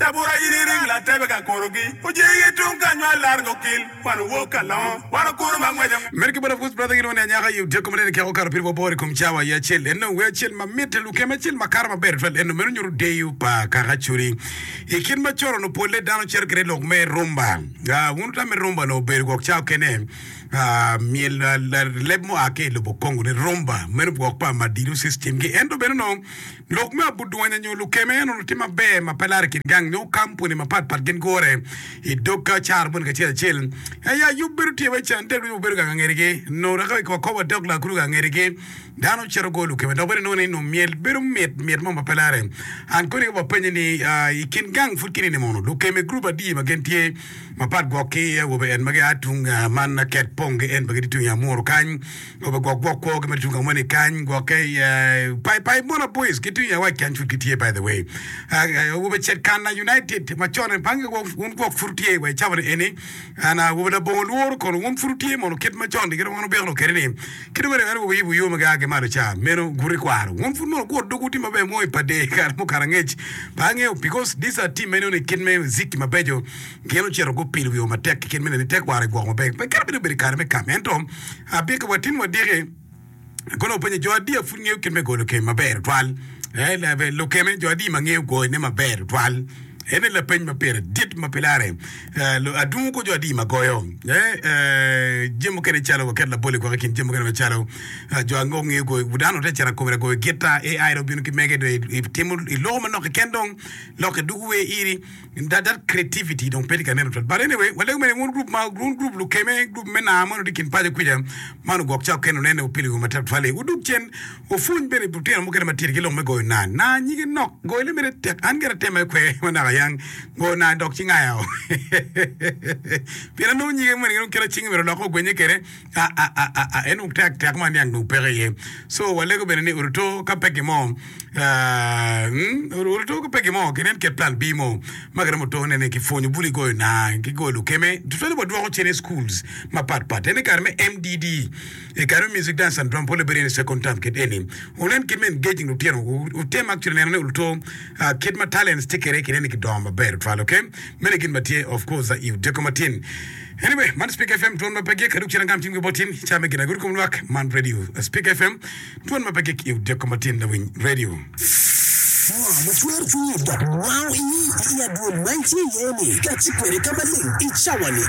Tabura in iring latebe ka kurugi, ojegi tung ka nywal lar gokil, wan owok ka longo, wan okuru ma ngwece. Mere ki bot Apwoc Brother gilwongo ni anyaka i odiko manene keko okato piri wabor i kom cawa i acel eno wer acel ma mitte lukem acel ma kato maber tutwal eno meno nyuto deyo pa kaka Acholi i kit ma coro no polle dano cito kede lok me rumba wun wutam me rumba no obedo gwok cawa okene myel leb mua ki i lobo Congo ni rumba meno gwok pa madilu system gi ento bene no Lok me abudwanya nyo lukeme en onongo tye maber ma pe laro i kin gang nyo kampuni mapat pat gin gure i dog ka caro moni kacel acel. Aya yub bedo tye wai can tek ducu wabedo gang angetigi nongo dok ka wakobo adok lakuru gang angetigi dano cito goyo lukeme dok bene nongo ni nongo myel bedo mit mit mo ma pe lare. An koni ka wapenye ni i kin gang pud kinini mono lukeme gurup adi ma gin tye mapat gwok ki awobe en ma gia tung man ket pong ki en ma gitye tung i amuru kany. Obe gwok gwok kwo ki mere tung ka moni kany gwokke i pai pai mona boys ki tung i awac kany pud gitye by the way awobe cet kana united macon en pange gwok wun gwok pud wutye wa i cawa ni eni an awobe labongo lworo kono wun pud wutye mono kit macon ni kit ma wan wubino kwede ni kit ma en awobe yubo yo ma gia ki malo ca meno guti kwaro wun pud mono guot dogwu tye maber mo i pade kare mukato angec pe angeyo because these are team meno ni kit me muziki mabeco gin ocito gupilo wio matek ki kit me neno ni tekwaro egwoko maber pe kadi bed obedo i kare me kam ento Abika wa tin wadiki kono openyo jo adi pud ngeyo kit me goyo lukeme maber tutwal. Eh, lukeme jo adi ma ngeyo goyone maber tutwal. Ene lapeny ma pire dit ma pe lare. Eh, adungo ko jo adi ma goyo. Eh, eh, jami mukene calo waket labol i gwok i kin jami mukene macalo eh, jo ango ngeyo goyo dano te cito akomera goyo gita AI dong obino ki mege dong itimo iloko manok keken dong lokke dugu wer iri. That, that creativity dong pe tye ka nen tutwal. But anyway, walego mere wun group ma wun group lukeme, group me naa mono tye kin paco kwica, man ogwok ca okene onene opilo iwi matek tutwal-li. Wudug cen, wupwony bene lutino mukene matidi ki lok me goyo naa. Naa nyige nok, goyone mere tek. An gire atema kwe ma naka yang goyo naa dok ci ngaya o. Pien anongo nyige moni dong kit cinge myero olokke ogwenye kwede. Aa en dong tek tek ma niang dong peke iye. So walego bene ni oruto ka pe gin mo oruto ka pe gin mo kinen ket plan B mo ma kiromo tone ni kipwonyo bulu igoyo naa ki goyo lukeme tutwale wadwoko cen i schools mapat pat en i kare me MDD i kare me music dance and drum pole bedo i second term kit eni wunen kit me engaging lutino wutem actually neno ni oruto kit ma talents tye kwede kinen ni gidongo maber tutwal okay meno gin ma tye of course i odiko matin. Anyway, man Speak FM twon ma pe gik aduk cen angam cim ki bot tin ca me gin agudo kom lwak man radio Speak FM twon ma pe gik i odiko matin lawiny radio. Ngo ma cwero cwinyi dok wango iyi i adwol ma itye iye-ni? Kati kwede ka maleng i cawa-ni.